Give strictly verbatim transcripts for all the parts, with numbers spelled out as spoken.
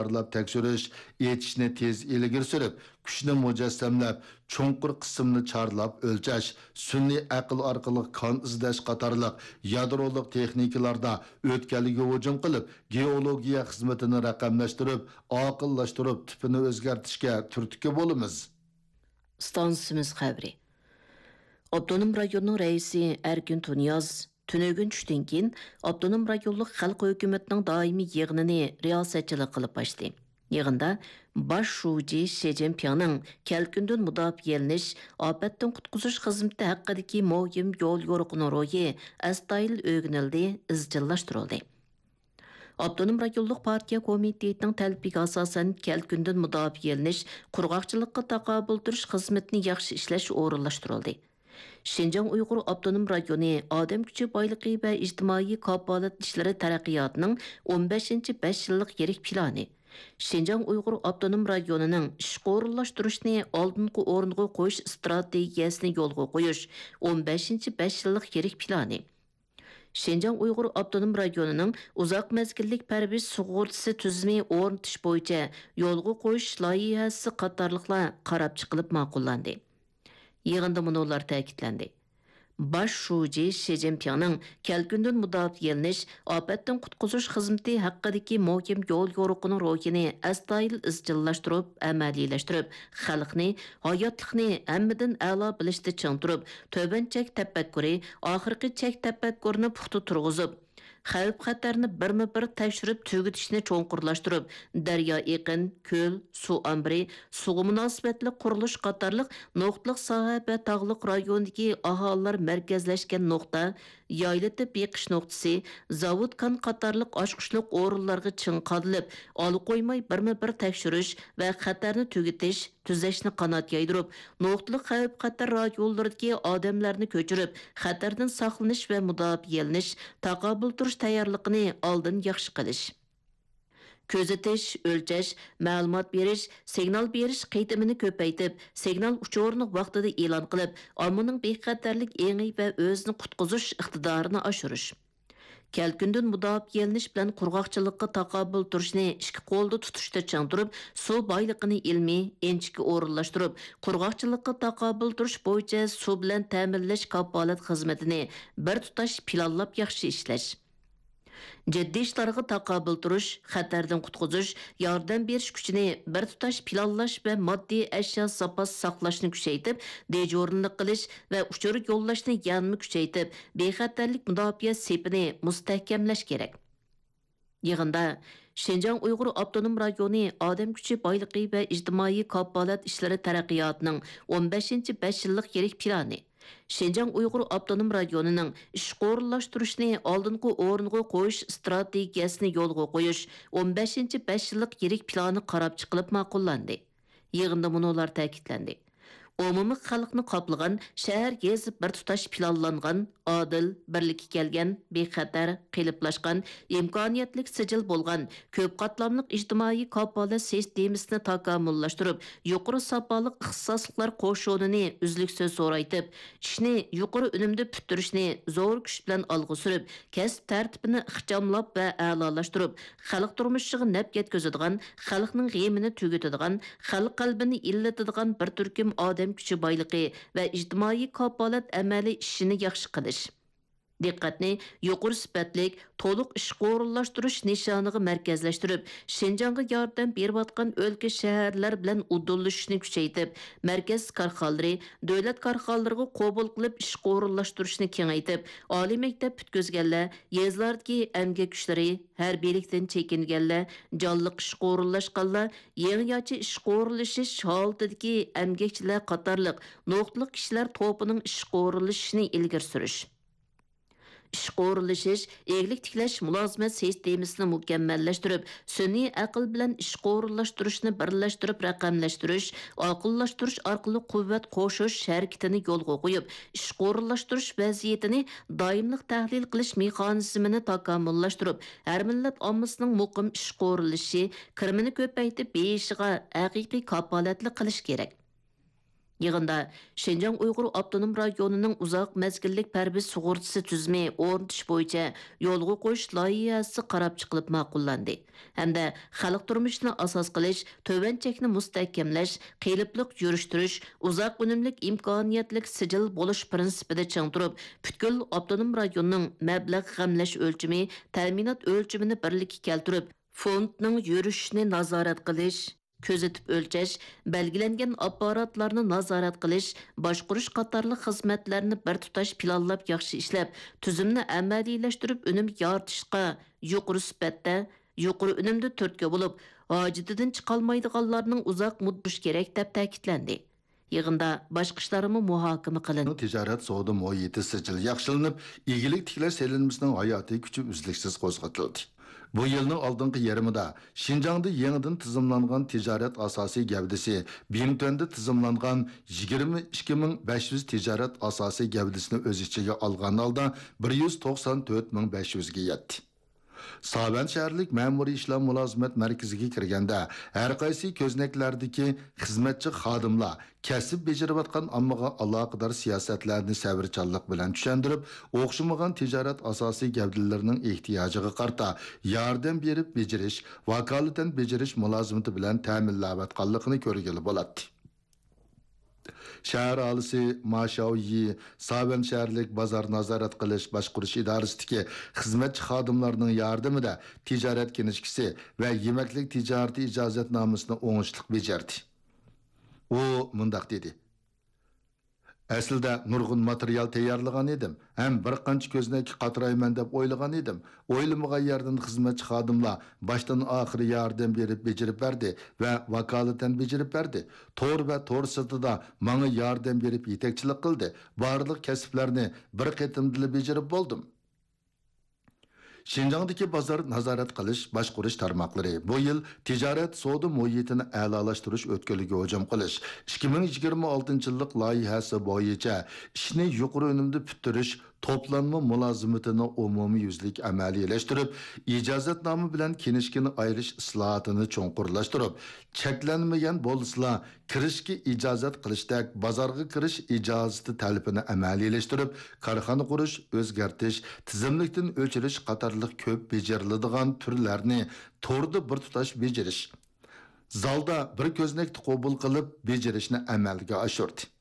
تەكرارلاپ تەكشۈرۈش، ئېچىشنى تېز ئىلگىرى سۈرۈپ، كۈچنى مۇجەسسەملەپ، چوڭقۇر قىسىمنى چارلاپ ئۆلچەش، سۈنئىي ئەقىل ئارقىلىق كان ئىزدەش قاتارلىق يادرولۇق تېخنىكىلاردا ئۆتكەلگە ھۇجۇم قىلىپ، گېئولوگىيە خىزمىتىنى رەقەملەشتۈرۈپ، ئاقىللاشتۇرۇپ، تىپىنى ئۆزگەرتىشكە تۈرتكە بولىمىز. ئىستانسىمىز خەۋىرى. ئاپتونوم رايوننىڭ رەئىسى ئەركىن تۇنىياز تۈنۈگۈن چۈشتىن كېيىن ئاپتونوم رايونلۇق خەلق ھۆكۈمىتىنىڭ دائىمىي يىغىنىنى رىياسەتچىلىك قىلىپ ئاچتى. يىغىندا باش شۇجى شى جىنپىڭنىڭ كەلكۈندىن مۇداپىئەلىنىش، ئاپەتتىن قۇتقۇزۇش خىزمىتى ھەققىدىكى مۇھىم يول يورۇقىنىڭ روھى ئەستايىدىل ئۆگىنىلدى، ئىزچىللاشتۇرۇلدى. ئاپتونوم رايونلۇق پارتىيە كومىتېتىنىڭ تەلىپىگە ئاساسەن، كەلكۈندىن مۇداپىئەلىنىش، قۇرغاقچىلىققا تاقابىل تۇرۇش خىزمىتىنى ياخشى ئىشلەش ئورۇنلاشتۇرۇلدى. شىنجاڭ ئۇيغۇر ئاپتونوم رايونى ئادەم كۈچى بايلىقى ۋە ئىجتىمائىي كاپالەت ئىشلىرى تەرەققىياتىنىڭ ئون بەشىنچى بەش يىللىق يىرىك پىلانى، شىنجاڭ ئۇيغۇر ئاپتونوم رايونىنىڭ ئىشقا ئورۇنلاشتۇرۇشنى ئالدىنقى ئورۇنغا قويۇش ئىستراتېگىيەسىنى يولغا قويۇش ئون بەشىنچى بەش يىللىق يىرىك پىلانى، شىنجاڭ ئۇيغۇر ئاپتونوم رايونىنىڭ ئۇزاق مەزگىللىك پەرۋىش سۇغۇرتىسى تۈزۈمى ئورنىتىش بويىچە يولغا قويۇش لايىھەسى قاتارلىقلار قاراپ چىقىلىپ ماقۇللاندى. يىغىندا مۇنۇلار تەكىتلەندى: باش شۇجى شى جىنپىڭنىڭ كەلكۈندىن مۇداپىئەلىنىش، ئاپەتتىن قۇتقۇزۇش خىزمىتى ھەققىدىكى مۇھىم يول يورۇقىنىڭ روھىنى ئەستايىدىل ئىزچىللاشتۇرۇپ، ئەمەلىيلەشتۈرۈپ، خەلقنى، ھاياتلىقنى ھەممىدىن ئەلا بىلىشتە چىڭ تۇرۇپ، تۆۋەن چەك تەپەككۇرى، ئاخىرقى چەك تەپەككۇرىنى پۇختا تۇرغۇزۇپ، خەۋپ-خەتەرنى بىرمۇ بىر تەكشۈرۈپ تۈگىتىشنى چوڭقۇرلاشتۇرۇپ، دەريا ئېقىن، كۆل، سۇ ئامبىرى، سۇغا مۇناسىۋەتلىك قۇرۇلۇش قاتارلىق نۇقتىلىق ساھە ۋە تاغلىق رايوندىكى ئاھالىلەر مەركەزلەشكەن نۇقتا، يايلىتىپ بېقىش نۇقتىسى، زاۋۇت كان قاتارلىق ئاچقۇچلۇق ئورۇنلارغا چىڭ قادىلىپ، ئالا قويماي بىرمۇ بىر تەكشۈرۈش ۋە خەتەرنى تۈگىتىش، تۈزەشنى قانات يايدۇرۇپ، نۇقتىلىق خەۋپ-خەتەر رايونلىرىدىكى ئادەملەرنى كۆچۈرۈپ، خەتەردىن ساقلىنىش ۋە مۇداپىئەلىنىش، تاقابىل تۇرۇش تەييارلىقىنى ئالدىن ياخشى قىلىش. كۆزىتىش، ئۆلچەش، مەلۇمات بېرىش، سىگنال بېرىش قېتىمىنى كۆپەيتىپ، سىگنال ئۇچۇرىنى ۋاقتىدا ئېلان قىلىپ، ئاممىنىڭ بىخەتەرلىك ئېڭى ۋە ئۆزىنى قۇتقۇزۇش ئىقتىدارىنى ئاشۇرۇش. كەلكۈندىن مۇداپىئەلىنىش بىلەن قۇرغاقچىلىققا تاقابىل تۇرۇشنى ئىككى قولدا تۇتۇشتا چىڭ تۇرۇپ، سۇ بايلىقىنى ئىلمىي، ئىنچىكە ئورۇنلاشتۇرۇپ، قۇرغاقچىلىققا تاقابىل تۇرۇش بويىچە سۇ بىلەن تەمىنلەش كاپالەت خىزمىتىنى بىر تۇتاش پىلانلاپ ياخشى ئىشلەش. جىددىي ئىشلارغا تاقابىل تۇرۇش، خەتەردىن قۇتقۇزۇش، ياردەم بېرىش كۈچىنى بىر تۇتاش پىلانلاش ۋە ماددىي ئەشيا زاپاس ساقلاشنى كۈچەيتىپ، دىجورنىلىق قىلىش ۋە ئۇچۇر يوللاشنى يەنىمۇ كۈچەيتىپ، بىخەتەرلىك مۇداپىئە سېپىنى مۇستەھكەملەش كېرەك. يىغىندا شىنجاڭ ئۇيغۇر ئاپتونوم رايونى ئادەم كۈچى بايلىقى ۋە ئىجتىمائىي كاپالەت ئىشلىرى تەرەققىياتىنىڭ ئون بەشىنچى بەش يىللىق يىرىك پىلانى، شىنجاڭ ئۇيغۇر ئاپتونوم رايونىنىڭ ئىشقا ئورۇنلاشتۇرۇشنى ئالدىنقى ئورۇنغا قويۇش ئىستراتېگىيەسىنى يولغا قويۇش ئون بەشىنچى بەش يىللىق يىرىك پىلانى قاراپ چىقىلىپ ماقۇللاندى. يىغىندا مۇنۇلار تەكىتلەندى: ئومۇمىي خەلقنى قاپلىغان شەھەر، يېزا بىر تۇتاش پىلانلانغان، ئادىل، بىرلىككە كەلگەن، بىخەتەر، قېلىپلاشقان، ئىمكانىيەتلىك سىجىل بولغان، كۆپ قاتلاملىق ئىجتىمائىي كاپالەت سىستېمىسىنى تاكامۇللاشتۇرۇپ، يۇقىرى ساپالىق ئىختىساسلىقلار قوشۇنىنى ئۈزلۈكسىز زورايتىپ، ئىشنى يۇقىرى ئۈنۈمدە پۈتتۈرۈشنى زور كۈچ بىلەن ئالغا سۈرۈپ، كەسىپ تەرتىپىنى ئىخچاملاپ ۋە ئەلالاشتۇرۇپ، خەلق تۇرمۇشىغا نەپ يەتكۈزىدىغان، خەلقنىڭ غېمىنى تۈگىتىدىغان، خەلق قەلبىنى ئىللىتىدىغان بىر تۈركۈم ئادەم كۈچى بايلىقى ۋە ئىجتىمائىي كاپالەت ئەمەلىي ئىشىنى ياخشى قىلىش. دىققەتنى يۇقىرى سۈپەتلىك، تولۇق ئىشقا ئورۇنلاشتۇرۇش نىشانىغا مەركەزلەشتۈرۈپ، شىنجاڭغا ياردەم بېرىۋاتقان ئۆلكە، شەھەرلەر بىلەن ئۇدۇللىشىشنى كۈچەيتىپ، مەركەز كارخانىلىرى، دۆلەت كارخانىلىرىغا قوبۇل قىلىپ ئىشقا ئورۇنلاشتۇرۇشنى كېڭەيتىپ، ئالىي مەكتەپ پۈتكۈزگەنلەر، يېزىلاردىكى ئەمگەك كۈچلىرى، ھەربىيلىكتىن چېكىنگەنلەر، جانلىق ئىشقا ئورۇنلاشقانلار، يېڭىچە ئىشقا ئورۇنلىشىش ھالىتىدىكى ئەمگەكچىلەر قاتارلىق نۇقتىلىق كىشىلەر توپىنىڭ ئىشقا ئورۇنلىشىشىنى ئىلگىرى سۈرۈش. ئىشقا ئورۇنلىشىش، ئىگىلىك تىكلەش مۇلازىمەت سىستېمىسىنى مۇكەممەللەشتۈرۈپ، سۈنئىي ئەقىل بىلەن ئىشقا ئورۇنلاشتۇرۇشنى بىرلەشتۈرۈپ رەقەملەشتۈرۈش، ئاقىللاشتۇرۇش ئارقىلىق قۇۋۋەت قوشۇش ھەرىكىتىنى يولغا قويۇپ، ئىشقا ئورۇنلاشتۇرۇش ۋەزىيىتىنى دائىملىق تەھلىل قىلىش مېخانىزمىنى تاكامۇللاشتۇرۇپ، ھەر مىللەت ئاممىسىنىڭ مۇقىم ئىشقا ئورۇنلىشىشى، كىرىمىنى كۆپەيتىپ بېيىشىغا ھەقىقىي كاپالەتلىك قىلىش كېرەك. يىغىندا شىنجاڭ ئۇيغۇر ئاپتونوم رايونىنىڭ ئۇزاق مەزگىللىك پەرۋىش سۇغۇرتىسى تۈزۈمى ئورنىتىش بويىچە يولغا قويۇش لايىھەسى قاراپ چىقىلىپ ماقۇللاندى ھەمدە خەلق تۇرمۇشىنى ئاساس قىلىش، تۆۋەن چەكنى مۇستەھكەملەش، قېلىپلىق يۈرۈشتۈرۈش، ئۇزاق ئۈنۈملۈك ئىمكانىيەتلىك سىجىل بولۇش پىرىنسىپىدا چىڭ تۇرۇپ، پۈتكۈل ئاپتونوم رايوننىڭ مەبلەغ غەملەش ئۆلچىمى، تەمىنات ئۆلچىمىنى بىرلىككە كەلتۈرۈپ، فوندنىڭ يۈرۈشۈشىنى نازارەت قىلىش، كۆزىتىپ ئۆلچەش، بەلگىلەنگەن ئاپپاراتلارنى نازارەت قىلىش، باشقۇرۇش قاتارلىق خىزمەتلەرنى بىر تۇتاش پىلانلاپ ياخشى ئىشلەپ، تۈزۈمنى ئەمەلىيلەشتۈرۈپ، ئۈنۈم يارىتىشقا يۇقىرى سۈپەتتە، يۇقىرى ئۈنۈمدە تۈرتكە بولۇپ، ھاجىتىدىن چىقالمايدىغانلارنىڭ ئۇزاق مۇددىتى كېرەك، دەپ تەكىتلەندى. يىغىندا باشقا ئىشلارمۇ مۇھاكىمە قىلىندى. تىجارەت سودا مۇھىتى سىجىل ياخشىلىنىپ، ئىگىلىك تىكلەش سېلىنمىسىنىڭ ھاياتىي كۈچى ئۈزلۈكسىز قوزغىتىلدى. بۇ يىلنىڭ ئالدىنقى يېرىمىدا شىنجاڭدا يېڭىدىن تىزىملانغان تىجارەت ئاساسىي گەۋدىسى، بىڭتۈەندە تىزىملانغان يىگىرمە ئىككى مىڭ بەش يۈز تىجارەت ئاساسىي گەۋدىسىنى ئۆز ئىچىگە ئالغان ھالدا بىر يۈز توقسان تۆت مىڭ بەش يۈزگە يەتتى. ساۋەن شەھەرلىك مەمۇرىي ئىشلار مۇلازىمەت مەركىزىگە كىرگەندە، ھەرقايسى كۆزنەكلەردىكى خىزمەتچى خادىملار كەسىپ بېجىرىۋاتقان ئاممىغا ئالاقىدار سىياسەتلەرنى سەۋرچانلىق بىلەن چۈشەندۈرۈپ، ئوخشىمىغان تىجارەت ئاساسىي گەۋدىلىرىنىڭ ئېھتىياجىغا قارىتا ياردەم بېرىپ بېجىرىش، ۋاكالىتەن بېجىرىش مۇلازىمىتى بىلەن تەمىنلەۋاتقانلىقىنى كۆرگىلى بولاتتى. شەھەر ئاھالىسى ما شياۋيى ساۋەن شەھەرلىك بازار نازارەت قىلىش باشقۇرۇش ئىدارىسىدىكى خىزمەتچى خادىملارنىڭ ياردىمىدە تىجارەت كىنىشكىسى ۋە يېمەكلىك تىجارىتى ئىجازەتنامىسىنى ئوڭۇشلۇق بېجەردى. ئۇ مۇنداق دېدى: ئەسلىدە نۇرغۇن ماتېرىيال تەييارلىغان ئىدىم ھەم بىر قانچە كۆزنەككە قاترايمەن دەپ ئويلىغان ئىدىم. ئويلىمىغان يەردىن خىزمەتچى خادىملار باشتىن ئاخىر ياردەم بېرىپ بېجىرىپ بەردى ۋە ۋاكالىتەن بېجىرىپ بەردى. تور ۋە تور سىرتىدا ماڭا ياردەم بېرىپ يېتەكچىلىك قىلدى. بارلىق كەسىپلەرنى بىر قېتىمدىلا بېجىرىپ بولدۇم. شىنجاڭدىكى بازار نازارەت قىلىش باشقۇرۇش تارماقلىرى بۇ يىل تىجارەت سودا مۇھىتىنى ئەلالاشتۇرۇش ئۆتكىلىگە ھۇجۇم قىلىش ئىككى مىڭ يىگىرمە ئالتىنچى يىللىق لايىھەسى بويىچە ئىشنى يۇقىرى ئۈنۈمدە پۈتتۈرۈش توپلانما مۇلازىمىتىنى ئومۇميۈزلۈك ئەمەلىيلەشتۈرۈپ، ئىجازەتنامە بىلەن كىنىشكىنى ئايرىش ئىسلاھاتىنى چوڭقۇرلاشتۇرۇپ، چەكلەنمىگەن بولسىلا، كىرىشكە ئىجازەت قىلىشتەك بازارغا كىرىش ئىجازىتى تەلىپىنى ئەمەلىيلەشتۈرۈپ، كارخانا قۇرۇش، ئۆزگەرتىش، تىزىملىكتىن ئۆچۈرۈش قاتارلىق كۆپ بېجىرىلىدىغان تۈرلەرنى توردا بىر تۇتاش بېجىرىش، زالدا بىر كۆزنەكتە قوبۇل قىلىپ بېجىرىشنى ئەمەلگە ئاشۇردى.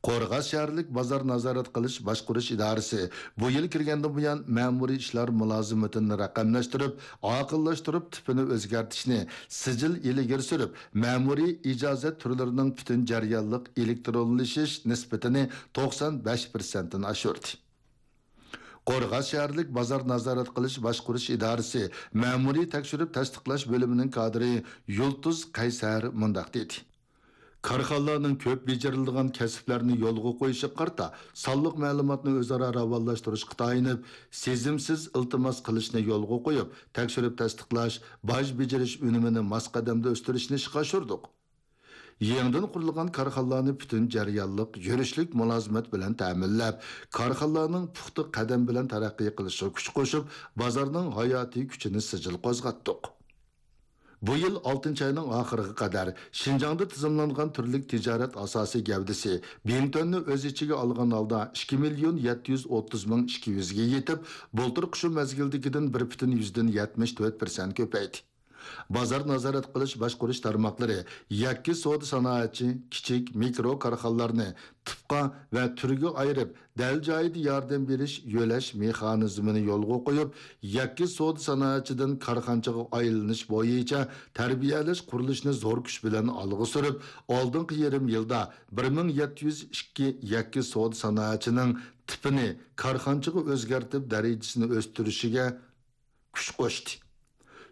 قورغاس شەھەرلىك بازار نازارەت قىلىش باشقۇرۇش ئىدارىسى بۇ يىل كىرگەندىن بۇيان مەمۇرىي ئىشلار مۇلازىمىتىنى رەقەملەشتۈرۈپ، ئاقىللاشتۇرۇپ، تىپىنى ئۆزگەرتىشنى سىجىل ئىلگىرى سۈرۈپ، مەمۇرىي ئىجازەت تۈرلىرىنىڭ پۈتۈن جەريانلىق ئېلېكترونلىشىش نىسبىتىنى توقسان بەش پىرسەنتتىن ئاشۇردى. قورغاس شەھەرلىك بازار نازارەت قىلىش باشقۇرۇش ئىدارىسى مەمۇرىي تەكشۈرۈپ تەستىقلاش بۆلۈمىنىڭ كادىرى يۇلتۇز قەيسەر مۇنداق دېدى: كارخانىلارنىڭ كۆپ بېجىرىلىدىغان كەسىپلەرنى يولغا قويۇشىغا قارىتا سانلىق مەلۇماتنى ئۆزئارا راۋانلاشتۇرۇشقا تايىنىپ، سېزىمسىز ئىلتىماس قىلىشنى يولغا قويۇپ، تەكشۈرۈپ تەستىقلاش، باج بېجىرىش ئۈنۈمىنى ماس قەدەمدە ئۆستۈرۈشنى ئىشقا ئاشۇردۇق. يېڭىدىن قۇرۇلغان كارخانىلارنى پۈتۈن جەريانلىق يۈرۈشلۈك مۇلازىمەت بىلەن تەمىنلەپ، كارخانىلارنىڭ پۇختا قەدەم بىلەن تەرەققىي قىلىشىغا كۈچ قوشۇپ، بازارنىڭ ھاياتىي كۈچىنى سىجىل قوزغاتتۇق. بۇ يىل ئالتىنچى ئاينىڭ ئاخىرىغا قەدەر شىنجاڭدا تىزىملانغان تۈرلۈك تىجارەت ئاساسىي گەۋدىسى بىڭتۈەننى ئۆز ئىچىگە ئالغان ھالدا ئىككى مىليون يەتتە يۈز ئوتتۇز مىڭ ئىككى يۈزگە يېتىپ، بۇلتۇرقى شۇ مەزگىلدىكىدىن بىر پۈتۈن يۈزدىن يەتمىش تۆت پىرسەنت كۆپەيدى. بازار نازارەت قىلىش باشقۇرۇش تارماقلىرى يەككە سودا سانائەتچى، كىچىك، مىكرو كارخانىلارنى تىپقا ۋە تۈرگە ئايرىپ، دەل جايىدا ياردەم بېرىش، يۆلەش مېخانىزمىنى يولغا قويۇپ، يەككە سودا سانائەتچىدىن كارخانىچىغا ئايلىنىش بويىچە تەربىيەلەش قۇرۇلۇشىنى زور كۈچ بىلەن ئالغا سۈرۈپ، ئالدىنقى يېرىم يىلدا بىر مىڭ يەتتە يۈز ئىككى يەككە سودا سانائەتچىنىڭ تىپىنى كارخانىچىغا ئۆزگەرتىپ، دەرىجىسىنى ئۆستۈرۈشىگە كۈچ قوشتى.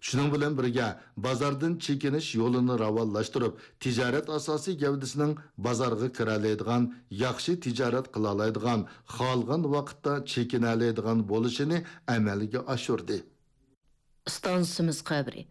شۇنىڭ بىلەن بىرگە، بازاردىن چېكىنىش يولىنى راۋانلاشتۇرۇپ، تىجارەت ئاساسىي گەۋدىسىنىڭ بازارغا كىرەلەيدىغان، ياخشى تىجارەت قىلالايدىغان، خالىغان ۋاقىتتا چېكىنەلەيدىغان بولۇشىنى ئەمەلگە ئاشۇردى. ئىستانسىمىز خەۋىرى.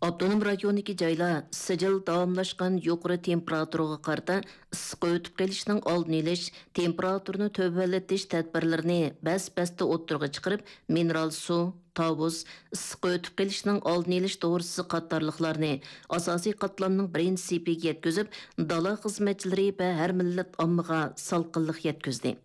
ئاپتونوم رايوندىكى جايلار سىجىل داۋاملاشقان يۇقىرى تېمپېراتۇرىغا قارىتا ئىسسىق ئۆتۈپ قېلىشنىڭ ئالدىنى ئېلىش، تېمپېراتۇرىنى تۆۋەنلىتىش تەدبىرلىرىنى بەس-بەستە ئوتتۇرىغا چىقىرىپ، مىنېرال سۇ، تاۋۇز، ئىسسىق ئۆتۈپ قېلىشنىڭ ئالدىنى ئېلىش دورىسى قاتارلىقلارنى ئاساسىي قاتلامنىڭ بىرىنچى سېپىگە يەتكۈزۈپ، دالا خىزمەتچىلىرى ۋە ھەر مىللەت ئاممىغا سالقىنلىق يەتكۈزدى.